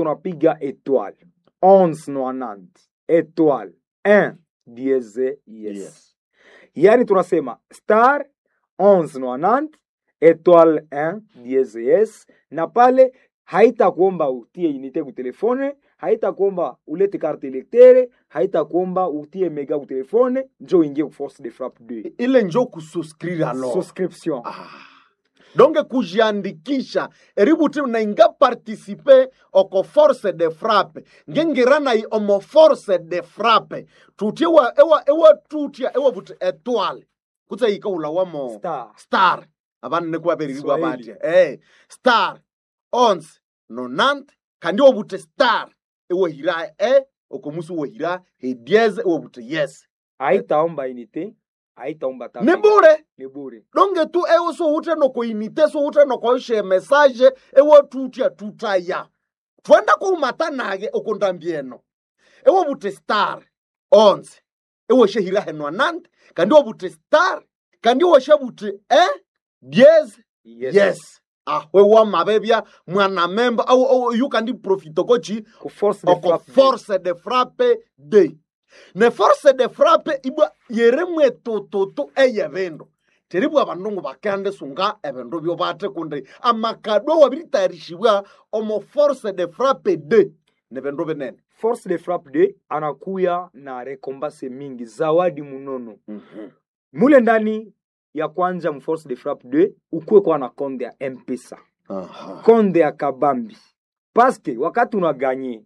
Tunapiga étoile 1190 étoile 1 dièse yes. Yes. Yaani tunasema star 1190 étoile 1 dièse yes, na pale haitakuomba utie unité ku téléphone, haitakuomba ulete carte électeur, haitakuomba utie mega ku téléphone, njo uingie ku force de frappe 2. Ile njo kusouscrire alors. Souscription. Donc kujiandikisha eributi nainga participe oko force de frappe ngengira nayi omo force de frappe tutie wa ewa ewa tutia ewa buti étoile kutse ikaula wamo Star. Star abana nekuwaberiribwa Swahili. batya star 11 90 kandi obute star ewehira e okomusi wehira hedieze ewobute yes. Haitaomba unité, haitaomba ta Ni mega. bure. Ni bure. Donge tu ewe sowuthe nokoinite sowuthe nokoishe message ewe tutya tutaya twenda kuumatanake okundambieno ewe bute star 11 ewe shehira henwa nante kandi obute star kandi woshe bute e diez. Yes. Yes, ahwe wamabebya mwana memba au au yu kandi profito kochi Ku force de oko frappe. Force de frappe de ne force de frappe ibwa yeremwe tututu eye bindu teribwa abandu bakende sunga ebindu byo bate kundi amakado wabiritayarishiwa omo force de frappe de ne bindu binene. Force de frappe 2 anakuya na rekombase mingi, zawadi munono. Mule ndani ya kwanza mu force de frappe 2 ukuwe kwa na konde ya M-Pesa. Aha. Konde ya kabambi. Paske wakati unaganye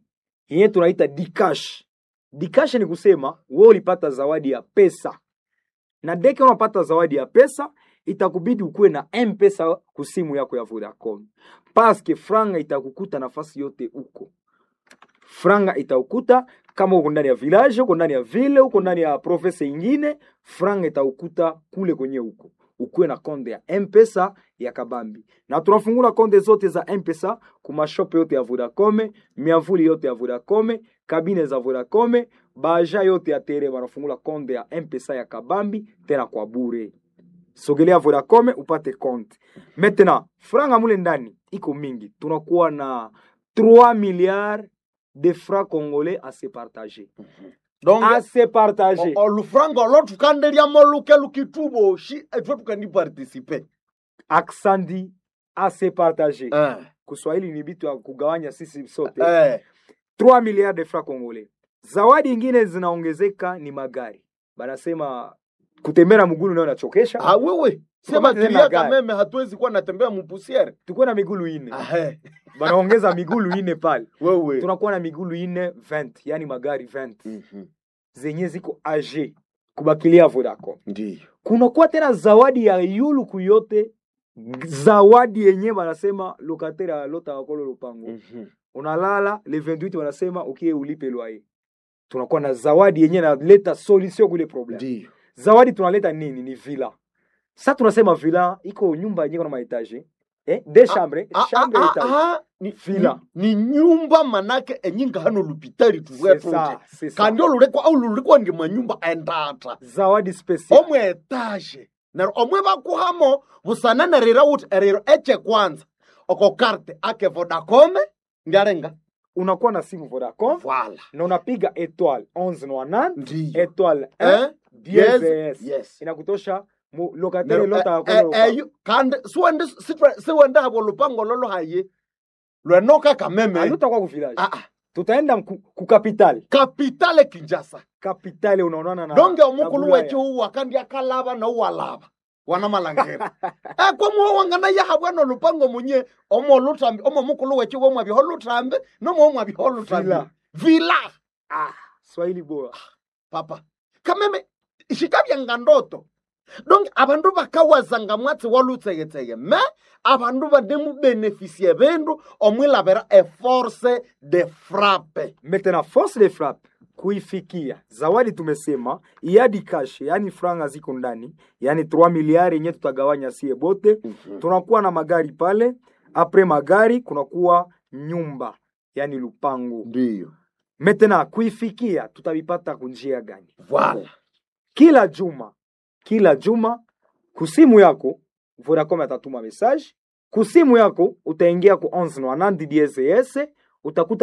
yenye tunaita dikash. Dikash ni kusema wewe ulipata zawadi ya pesa. Na deke unapata zawadi ya pesa itakubidi ukuwe na M-Pesa kusimu yako ya Vodacom. Paske franga itakukuta nafasi yote uko. Franga itaukuta kama uko ndani ya village, uko ndani ya ville, uko ndani ya province ingine, franga itaukuta kule kwenye uko. Ukuwe na konde ya M-Pesa ya kabambi. Na tunafungula konde zote za M-Pesa kuma shop yote ya Vodacom, miavuli yote ya Vodacom, kabine za Vodacom, baja yote ya tere wanafungula konde ya M-Pesa ya kabambi tena kwa bure. Sogelea Vodacom upate konte. Maintenant, franga mule ndani iko mingi. Tunakuwa na 3 milliards de francs congolais à se partager. Donc À se partager. olufranga olo tukanderyamo luke lukituboshi etwe tukandi participe. Aksandi à se partager. Kiswahili ni bitu ya kugawanya sisi sote. 3 milliards de francs congolais. Zawadi ingine zinaongezeka ni magari. Banasema kutembea na mgulu nayo nachokesha. Ah, wewe sema Tukamate tena tulia gari. kameme hatuwezi kuwa natembea mupusiere. Tukuwe na migulu ine. Ahe. Banaongeza migulu ine pale. Wewe. Tunakuwa na migulu ine 20, yani magari 20 zenye ziko age kubakilia Vodacom. Ndiyo. Kunakuwa tena zawadi ya yulu kuyote, zawadi yenye banasema locataire alota wakolo lupango. Unalala le 28 wanasema ukie ulipe loyer. Tunakuwa na zawadi yenye naleta solution kule problem. Ndiyo. Zawadi tunaleta nini? Ni villa. Sasa tunasema villa iko nyumba yenye kuna maetage des chambres, Ah, chambre ah, etage. ah, ni, Villa. ni nyumba manake enyinga hano lupitali C'est ça, c'est ça. kandi olulekwa au lulekwa ndi manyumba endata Zawadi special. omwe etage neryo omwe bakuhamo busana nerira wuthi eriro eche kwanza oko karte ake Vodacom ndiarenga. Unakuwa na simu Vodacom Voila. na unapiga étoile 1190 Ndiyo. étoile 1 Eh? dièse Yes. S. Yes. Inakutosha mu locataire Neryo, lota eh, wakolo lupango. eyo kandi siwende siwende habo lupango lolo haye lwenoka kameme. Alutakuwa ku village. Ah, ah. Tutaenda ku capital. Kapitale Kinshasa. Capitale unaonana na Donge na omukulu Bulaya. wetu uwa kandi akalaba nouwalaba wana malangera ekwamuwa wangana yahabwa nolupango munye omo lutambi omo mukulu wetu womwabyaho lutambi nomo mwabyaho lutambi. Vila. Vila. Ah, Swahili bora. Papa kameme shikabyanga ndoto donc abandu bakawazanga mwatsi walutsegetsege me abandu banemubenefisie bindu omwilabira eforce de frappe. Maintenant force de frappe kuifikia zawadi tumesema iadi cash, yani franga ziko ndani, yani 3 miliari yenye tutagawanya sie bote. Tunakuwa na magari pale, apres magari kunakuwa nyumba, yani lupango. Ndiyo. Maintenant kuifikia tutavipata kunjia gani? Voila. Kila juma, kila juma kusimu yako Vodacom atatuma message kusimu yako, utaingia ku 1190 DSS. Utakuta.